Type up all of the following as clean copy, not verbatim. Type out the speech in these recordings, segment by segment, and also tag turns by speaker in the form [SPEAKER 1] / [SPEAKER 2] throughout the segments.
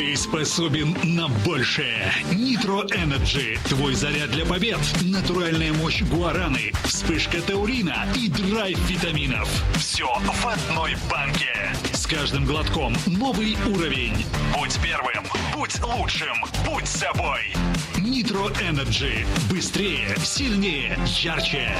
[SPEAKER 1] Ты способен на большее. Nitro Energy. Твой заряд для побед. Натуральная мощь гуараны, вспышка таурина и драйв витаминов. Все в одной банке. С каждым глотком новый уровень. Будь первым, будь лучшим, будь собой. Nitro Energy. Быстрее, сильнее, ярче.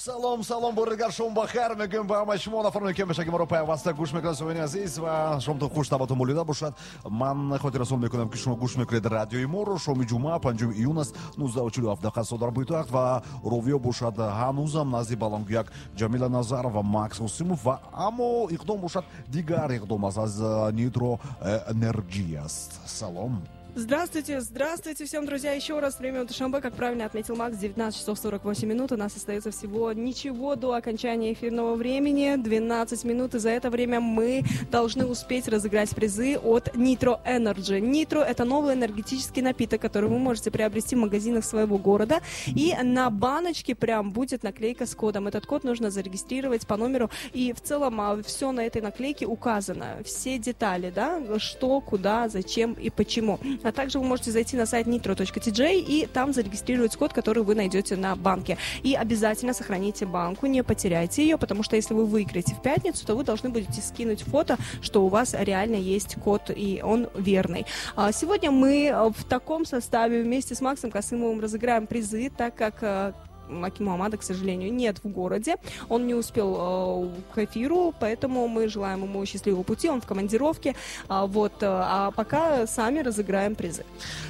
[SPEAKER 2] Салом, салом, бори дигар шом бахайр мегӯем ба ҳамаи шумо нафароне, ки ҳамешаги моро пайваста гӯш мекунад, сомини азиз, ва шомтон хуш, табатон болида бошад. Ман хотиррасон мекунам, ки шумо гӯш мекунед радиои моро. Шоми ҷумъа, 5 июн аст, 19:47 дақиқа соат дар пойтахт, ва ровиё бошад ҳанӯзам назди баландгӯяк Ҷамила Назарова ва Макс Қосимов, ва аммо иқдом бошад дигар иқдом аст, аз Nitro Energy аст. Салом.
[SPEAKER 3] Здравствуйте, здравствуйте всем, друзья. Еще раз время Душанбе, как правильно отметил Макс, 19 часов 48 минут. У нас остается всего ничего до окончания эфирного времени, 12 минут. И за это время мы должны успеть разыграть призы от Nitro Energy. Nitro – это новый энергетический напиток, который вы можете приобрести в магазинах своего города. И на баночке прям будет наклейка с кодом. Этот код нужно зарегистрировать по номеру. И в целом все на этой наклейке указано. Все детали, да, что, куда, зачем и почему. А также вы можете зайти на сайт nitro.tj и там зарегистрировать код, который вы найдете на банке. И обязательно сохраните банку, не потеряйте ее, потому что если вы выиграете в пятницу, то вы должны будете скинуть фото, что у вас реально есть код, и он верный. Сегодня мы в таком составе вместе с Максом Касымовым разыграем призы, так как Аки Муҳаммада, к сожалению, нет в городе. Он не успел к эфиру, поэтому мы желаем ему счастливого пути. Он в командировке. Вот. А пока сами разыграем призы.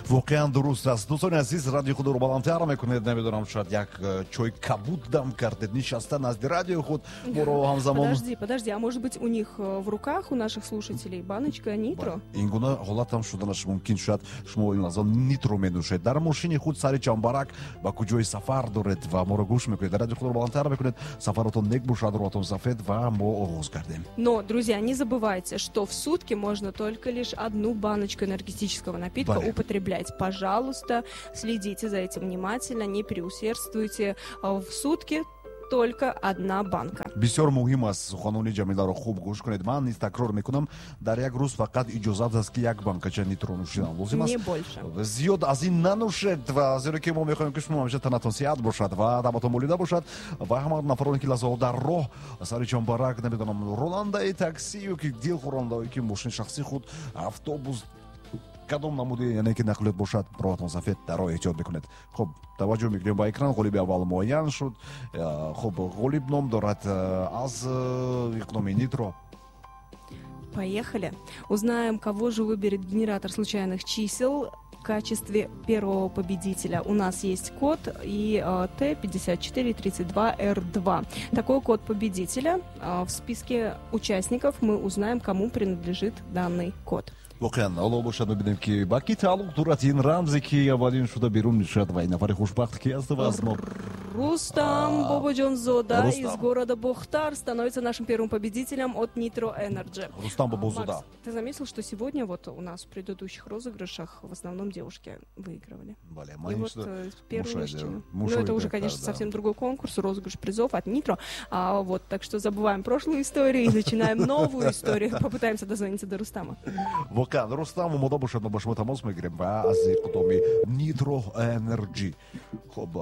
[SPEAKER 2] Воқеан дуруст аст. Дӯстони азиз, радиои худро баландтар мекунед. Намедонам, шояд як чой кабуд дам кардед, нишаста назди радиои худ моро ҳамзамон.
[SPEAKER 3] Подожди, подожди, а может быть, у них в руках, у наших слушателей, баночка Нитро?
[SPEAKER 2] Ин гуна ҳолат ҳам шуданаш мумкин. Шояд шумо ин лаҳза Нитро менӯшед. Дар мошини худ сари чамбарак ба куҷои сафар доред ва моро гӯш мекунед, радио худро баландтар мекунед. Сафаратон нек бошад, роҳатон сафед, ва мо оғоз кардем.
[SPEAKER 3] Но, друзья, не забывайте, что в сутки можно только лишь одну баночку энергетического напитка употреблять. Пожалуйста, следите за этим внимательно, не переусердствуйте. В сутки только одна банка.
[SPEAKER 2] Бисёр муҳим аст, суханони Ҷамиларо хуб гӯш кунед. Ман низ такрор мекунам, дар як рӯз фақат иҷозат аст, ки як банкача Нитро нӯшидан лозим аст.
[SPEAKER 3] Не больше.
[SPEAKER 2] Зиёд аз ин нанӯшед, ва зеро ки мо мехоҳем, ки шумо ҳамеша танатон сиҳат бошад ва табатон болида бошад, ва ҳама нафароне, ки лаҳзаҳо дар роҳ сари чамбарак, намедонам, ронандаи такси ё ки дилхӯрондаое ки мошини шахсии худ, автобус, кадом намуди, яъне ки нақлиёт бошад, роҳатон сафед, дар роҳ эҳтиёт мекунед. Хуб, таваҷҷӯҳ мекунем ба экран. Ғолиби аввал муайян шуд. Хуб, ғолиб ном дорад аз иқдоми Нитро.
[SPEAKER 3] Поехали. Узнаем, кого же выберет генератор случайных чисел в качестве первого победителя. У нас есть код и Т5432Р2. Такой код победителя. В списке участников мы узнаем, кому принадлежит данный код.
[SPEAKER 2] Воқеан, ҳоло бошад, мебинем, ки ба кӣ тааллуқ дорад ин рамзе, ки аввалин шуда берун мешавад, ва ин нафари хушбахт ки аст ва аз мо.
[SPEAKER 3] Рустам Бободжонзода из города Бохтар становится нашим первым победителем от Nitro Energy.
[SPEAKER 2] Рустам Бобозода.
[SPEAKER 3] Макс, ты заметил, что сегодня вот у нас в предыдущих розыгрышах в основном девушки выигрывали?
[SPEAKER 2] Бале,
[SPEAKER 3] и вот первый мужчина. Ну, это уже, конечно, совсем другой конкурс, розыгрыш призов от Nitro. Вот, так что забываем прошлую историю и начинаем новую историю. Попытаемся дозвониться до Рустама.
[SPEAKER 2] Воқеан, Рустам омода бошад, мо ба шумо тамос мегирем ва аз иқдоми Nitro Energy. Хуб,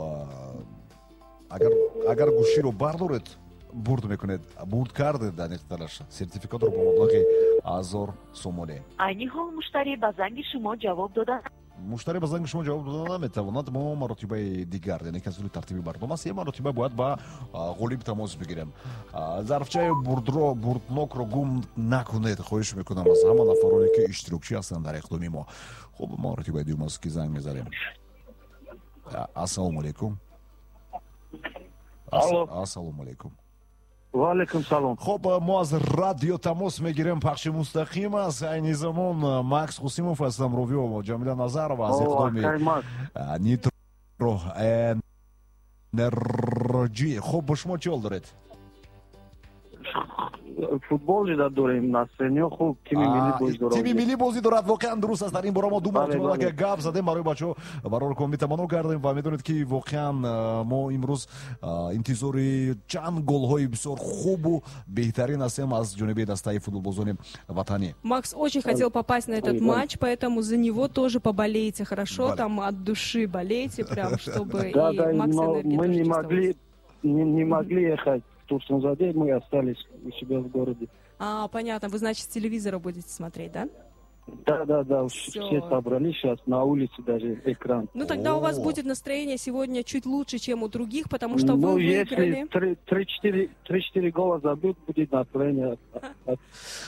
[SPEAKER 2] агар гӯширо бардоред, бурд мекунед. Бурд кардед, дақиқтараш, сертификатро бо маблағи 1000 сомонӣ.
[SPEAKER 4] Айни ҳол муштарӣ ба занги шумо ҷавоб дода
[SPEAKER 2] Муштарӣ ба занги шумо ҷавоб дода наметавонад. Мо маротибаи дигар, яъне ки аз рӯи тартиби барнома се маротиба бояд ба ғолиб тамос бигирем. Зарфчаи бурдро, бурднокро гум накунед, хоҳиш мекунам аз ҳама нафароне, ки иштирокчӣ ҳастанд дар иқдоми мо. Хуб, маротибаи дуюм аст, ки занг мезанем. Ассалому алайкум. Ассалому алайкум.
[SPEAKER 5] Ва алайкум салом.
[SPEAKER 2] Хуб, мо аз радио тамос мегирем, пахши мустақим аст. Айни замон Макс Қосимов ҳастам, ровиё Ҷамила Назарова аз иқдоми Nitro Energy. Хуб, бо шумо чӣ ҳол доред?
[SPEAKER 5] Футбол жида дорем, настроение хуб, тими миллӣ бозӣ дорад.
[SPEAKER 2] Тими миллӣ бозӣ дорад, воқеан дуруст аст. Дар ин бора мо ду маротиба гап задем, барои бачаҳо барор комӣ таманно кардем ва медонед, ки воқеан мо имрӯз интизори чанд голҳои бисёр хубу беҳтарин ҳастем аз ҷониби дастаи футболбозони ватанӣ.
[SPEAKER 3] Макс очень хотел попасть на этот матч, поэтому за него тоже поболейте хорошо, там от души болейте, прям, чтобы
[SPEAKER 5] Да,
[SPEAKER 3] и
[SPEAKER 5] да,
[SPEAKER 3] Макс
[SPEAKER 5] но
[SPEAKER 3] энергия
[SPEAKER 5] мы
[SPEAKER 3] тоже
[SPEAKER 5] не
[SPEAKER 3] чувствовалась.
[SPEAKER 5] могли ехать в Турсунзаде, мы остались у себя в городе.
[SPEAKER 3] А, понятно, вы, значит, с телевизора будете смотреть, да?
[SPEAKER 5] Да,
[SPEAKER 3] Всё.
[SPEAKER 5] все собрались сейчас, на улице даже экран.
[SPEAKER 3] Ну, тогда у вас
[SPEAKER 2] О.
[SPEAKER 3] будет настроение сегодня чуть лучше, чем у других, потому что
[SPEAKER 5] Ну,
[SPEAKER 3] вы выиграли.
[SPEAKER 5] если 3-4 гола забьют, будет настроение.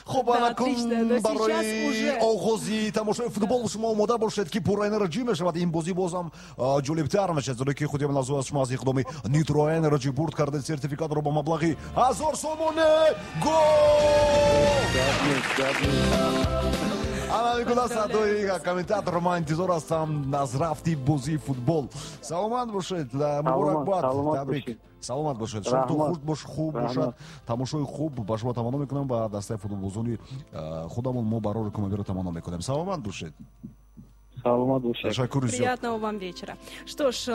[SPEAKER 2] Хуб,
[SPEAKER 3] Да,
[SPEAKER 2] ана кун
[SPEAKER 3] отлично, но сейчас
[SPEAKER 2] барои
[SPEAKER 3] уже-
[SPEAKER 2] оғози тамошои футбол шумо омода бошед, ки пурра энерҷӣ мешавад. Ин бозӣ бозам ҷолибтар мешавад, зеро ки худи лаҳза аз шумо аз иқдоми Нитро Энерҷи бурд кардед сертификатро бо маблағи 1000 сомонӣ. Гол! Ана мекунад садои комментатор. Ман интизор ҳастам аз рафти бозии футбол. Саломат бошед, муборакбод,
[SPEAKER 5] Саломат
[SPEAKER 2] табрик.
[SPEAKER 5] Бошед.
[SPEAKER 2] Саломат бошед, шомтон
[SPEAKER 5] Раҳмат.
[SPEAKER 2] Хуш бош, хуб
[SPEAKER 5] Раҳмат.
[SPEAKER 2] бошад, тамошои хуб ба шумо таманно мекунам. Ба дастаи футболбозони худамон мо барори комабиро таманно мекунем. Саломат бошед.
[SPEAKER 5] Саломат бошед.
[SPEAKER 2] Ташаккури зиёд.
[SPEAKER 3] Приятного вам вечера. Что ж,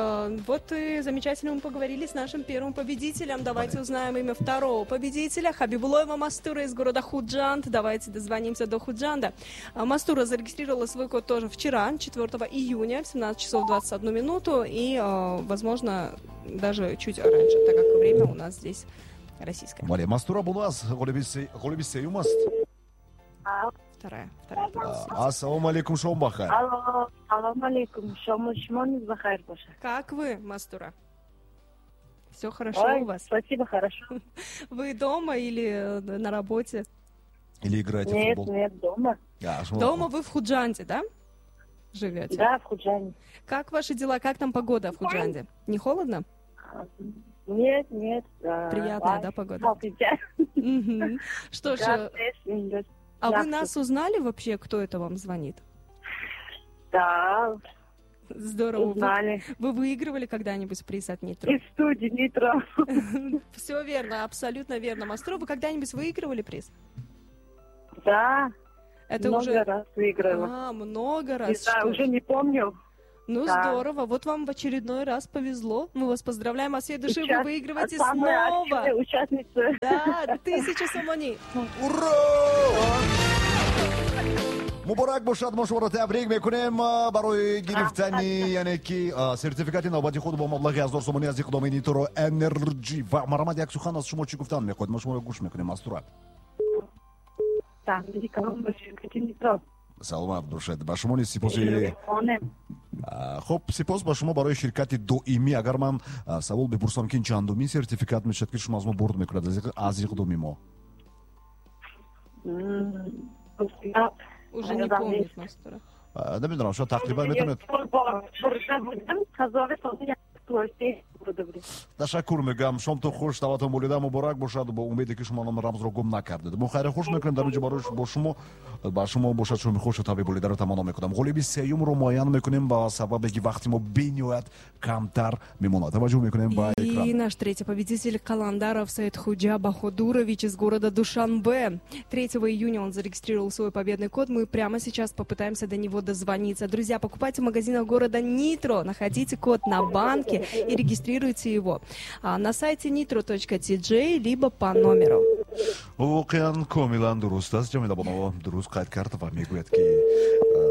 [SPEAKER 3] вот и замечательно мы поговорили с нашим первым победителем. Давайте узнаем имя второго победителя. Хабибулоева Мастура из города Худжанд. Давайте дозвонимся до Худжанда. Мастура зарегистрировала свой код тоже вчера, 4 июня, в 17 часов 21 минуту. И, возможно, даже чуть раньше, так как время у нас здесь российское.
[SPEAKER 2] Бале, Мастура бо нас ғолиби сеюм аст.
[SPEAKER 3] Вторая. Вторая.
[SPEAKER 2] Ассалому алейкум, шом бахайр.
[SPEAKER 4] Алло, салом алейкум. Шому шумо низ бахайр бошад.
[SPEAKER 3] Как вы, Мастура? Все хорошо
[SPEAKER 4] Ой,
[SPEAKER 3] у вас?
[SPEAKER 4] Спасибо, хорошо.
[SPEAKER 3] Вы дома или на работе?
[SPEAKER 2] Или играете в
[SPEAKER 4] Нет,
[SPEAKER 2] футбол?
[SPEAKER 4] нет, дома.
[SPEAKER 2] А, шумо-
[SPEAKER 3] Дома вы в Худжанде, да? Живете?
[SPEAKER 4] Да, в Худжанде.
[SPEAKER 3] Как ваши дела? Как там погода в Худжанде? Не холодно?
[SPEAKER 4] Нет, нет.
[SPEAKER 3] Приятная, да, погода? Мгм. Что ж, а вы нас узнали вообще, кто это вам звонит?
[SPEAKER 4] Да,
[SPEAKER 3] Здорово.
[SPEAKER 4] Узнали.
[SPEAKER 3] Вы выигрывали когда-нибудь приз от Нитро?
[SPEAKER 4] Из студии Нитро.
[SPEAKER 3] Все верно, абсолютно верно. Мастура, вы когда-нибудь выигрывали приз?
[SPEAKER 4] Да,
[SPEAKER 3] Это
[SPEAKER 4] много
[SPEAKER 3] уже
[SPEAKER 4] раз выиграла.
[SPEAKER 3] А, много раз.
[SPEAKER 4] Не знаю,
[SPEAKER 3] что
[SPEAKER 4] уже
[SPEAKER 3] ж.
[SPEAKER 4] Не помню.
[SPEAKER 3] Ну,
[SPEAKER 4] Да.
[SPEAKER 3] здорово. Вот вам в очередной раз повезло. Мы вас поздравляем от всей души. Вы
[SPEAKER 4] Сейчас
[SPEAKER 3] выигрываете
[SPEAKER 4] самая
[SPEAKER 3] снова.
[SPEAKER 4] активная участница.
[SPEAKER 3] Да, 1000 сомони.
[SPEAKER 2] Ура! Муборак бошад, мо шуморо табрик мекунем барои гирифтани, яъне ки сертификати навбати худ бо маблағи 1000 сомонӣ аз иқдоми Нитро Энерҷи. Ва марҳамат, як сухан аз шумо, чӣ гуфтан мехоҳед, мо шуморо гӯш мекунем, Мастура.
[SPEAKER 4] Табрик ба ширкати Нитро.
[SPEAKER 2] Саломат бошед, ба шумо низ сипоси.
[SPEAKER 4] Хонем.
[SPEAKER 2] Хуб, сипос ба шумо барои ширкати доимӣ. Агар ман савол бипурсам, ки ин чандумин сертификат мешавад, ки шумо аз мо бурд мекунад аз иқдоми мо?
[SPEAKER 3] Уже не помнит Мастура.
[SPEAKER 2] Намедонам, шояд тақрибан метавонед.
[SPEAKER 4] Бурда будам, 1000 сомон бурда будем.
[SPEAKER 2] Ташаккур мегӯям, шомтон хуш, таватон болида, муборак бошад. Бо умеде, ки шумо ном рамзро гум накардед, мо хайри хуш мекунем дар инҷо барои бо шумо. Ба шумо бошад шоми хушу таби болидаро таманно мекунам. Ғолиби сеюмро муайян мекунем, ба сабабе ки вақти мо бениҳоят камтар мемонад. Таваҷҷӯҳ мекунем ба
[SPEAKER 3] И
[SPEAKER 2] экран.
[SPEAKER 3] Наш третий победитель Каландаров Саидхуджа Баходурович из города Душанбе. 3 июня он зарегистрировал свой победный код. Мы прямо сейчас попытаемся до него дозвониться. Друзья, покупайте в магазинах города Нитро, находите код на банке и регистрируйте его на сайте nitro.tj либо по номеру.
[SPEAKER 2] Воқеан комилан дуруст аст. Ҷамила Бонова дуруст қайд кард ва мегӯяд, ки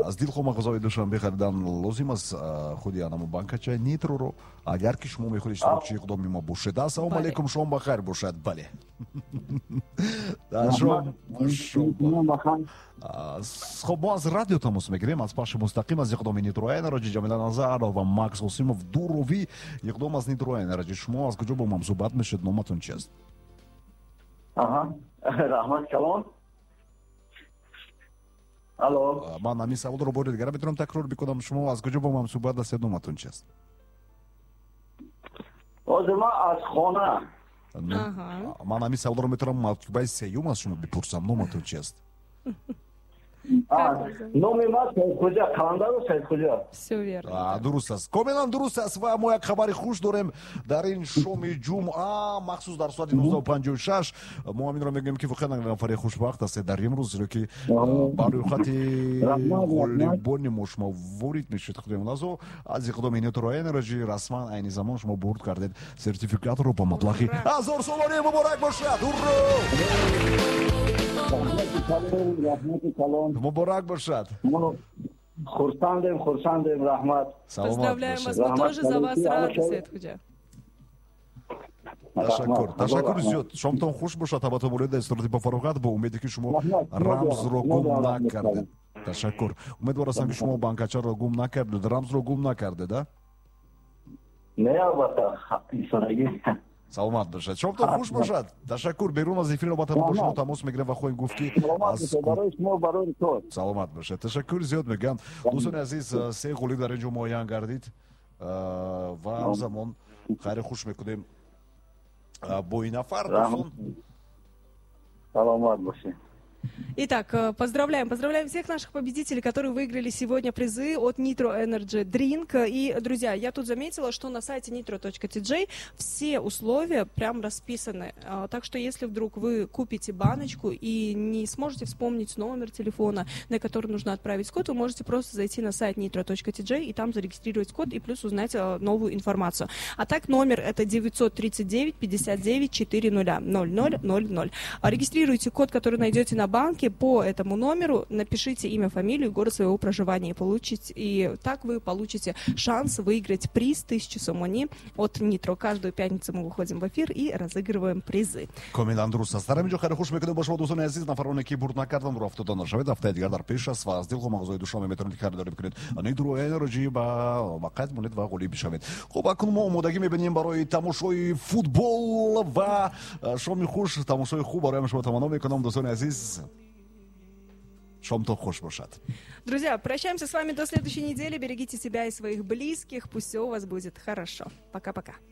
[SPEAKER 2] аз дилхоҳ мағозаҳои Душанбе харидан лозим аст худи анамо банкачаи Нитроро, агар ки шумо мехоҳед иштирокчии иқдоми мо бошед. Ассалому
[SPEAKER 3] Бале.
[SPEAKER 2] алейкум, шом ба хайр бошад. Бале, шом.
[SPEAKER 5] Бахайр.
[SPEAKER 2] Хоб, мо аз радио тамос мегирем, аз пахши мустақим аз иқдоми Нитро Энерҷи. Ҷамила Назаров ва Макс Осимов дуровӣ иқдом аз Нитро Энерҷи. Шумо аз куҷо бо ман суҳбат мешед, номатон чист?
[SPEAKER 5] Аҳа, раҳмат калон. Алло.
[SPEAKER 2] Ман ҳамин саволро бори дигар метавонам такрор бикунам. Шумо аз куҷо бо ман суҳбат ҳастед, номатон чист?
[SPEAKER 5] Ҳозир ман аз хона.
[SPEAKER 2] Ман ҳамин саволро метавонам мартибаи сеюм аз шумо бипурсам: номатон чист?
[SPEAKER 5] Номи ман Саидхоҷа, Қаландаров Саидхоҷа.
[SPEAKER 3] Все верно.
[SPEAKER 2] Дуруст аст, комилан дуруст аст. Ва мо як хабари хуш дорем дар ин шоми ҷумъа, махсус дар соати 19:56. Мо ҳаминро мегӯем, ки воқеан нафари хушбахт ҳастед дар имрӯз, зеро ки ба рӯйхати ғолибони мо шумо ворид мешавед. Худои муназзо, аз иқдоми Nitro Energy расман айни замон шумо бурд кардед сертификатро ба маблағи 1000 сомонӣ. Муборак бошад! Уро! Муборак бошад!
[SPEAKER 5] Хурсандем, хурсандем, раҳмат.
[SPEAKER 3] Поздравляем вас, мы тоже за вас рады, Саидхуджа.
[SPEAKER 2] Ташаккур, ташаккур зиёд. Шомтон хуш бошад, табатон болида, истироҳати бо фароғат, бо умеде ки шумо рамзро гум накардед. Ташаккур. Умедвор ҳастам, ки шумо банкачаро гум накардед, рамзро гум накардед, а?
[SPEAKER 5] Не, албатта, исонагӣ.
[SPEAKER 2] Саломат бошад, шомтон хуш бошад, ташаккур. Берун аз эфир албатта бо шумо тамос мегирем ва хоҳем гуфт, ки саломат бошад. Ташаккур зиёд мегӯям. Дӯстони азиз, се ғолиб дар ин ҷо муайян гардид ва ҳамзамон хайри хуш мекунем бо ин нафар, дӯстон.
[SPEAKER 5] Саломат бошед.
[SPEAKER 3] Итак, поздравляем, поздравляем всех наших победителей, которые выиграли сегодня призы от Nitro Energy Drink. И, друзья, я тут заметила, что на сайте nitro.tj все условия прям расписаны. Так что, если вдруг вы купите баночку и не сможете вспомнить номер телефона, на который нужно отправить код, вы можете просто зайти на сайт nitro.tj и там зарегистрировать код и плюс узнать новую информацию. А так, номер это 939 59 400 00 00. Регистрируйте код, который найдете на банке по этому номеру, напишите имя, фамилию, город своего проживания и получите, и так вы получите шанс выиграть приз 1000 сомони от Нитро. Каждую пятницу мы выходим в эфир и разыгрываем призы.
[SPEAKER 2] Комилан дуруст аст. Дар ҳамин ҷо хайри хуш мекунем бо шумо, дӯстони азиз. Нафароне, ки бурд накарданд, рӯ афтода нашавед, ҳафтаи дигар дар пеш аст ва аз дилхо мағозаи Душанбе метавонед харидорӣ бикунед Nitro Energy ба қайд монед ва ғолиб бишавед. Хуб, акнун мо омодагӣ мебинем барои тамошои футбол ва шоми хуш, тамошои хуб барои шумо таманно мекунам, дӯстони азиз. Шомтон хуш бошад.
[SPEAKER 3] Друзья, прощаемся с вами до следующей недели. Берегите себя и своих близких. Пусть все у вас будет хорошо. Пока-пока.